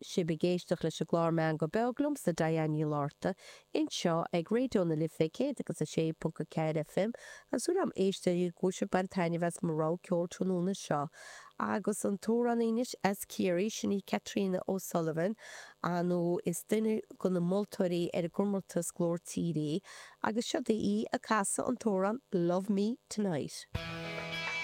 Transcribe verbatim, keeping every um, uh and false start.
sibh ag éisteacht leis an gclár Meangadh Beag liomsa Diane Ní Fhlatharta anseo ag Raidió na Life céad agus a sé ponc a ceathair FM agus súil agam a éisteoirí go bhfuil sibh ag baint taitneamh as mo rogha ceoil tráthnóna seo agus an t-amhránaí anois as Ciarraí sin í Caitríona O'Sullivan nó is duine de na moltóirí ar an gcomórtas Glór Tíre í agus seo í ag casadh an t-amhrán Love Me Tonight.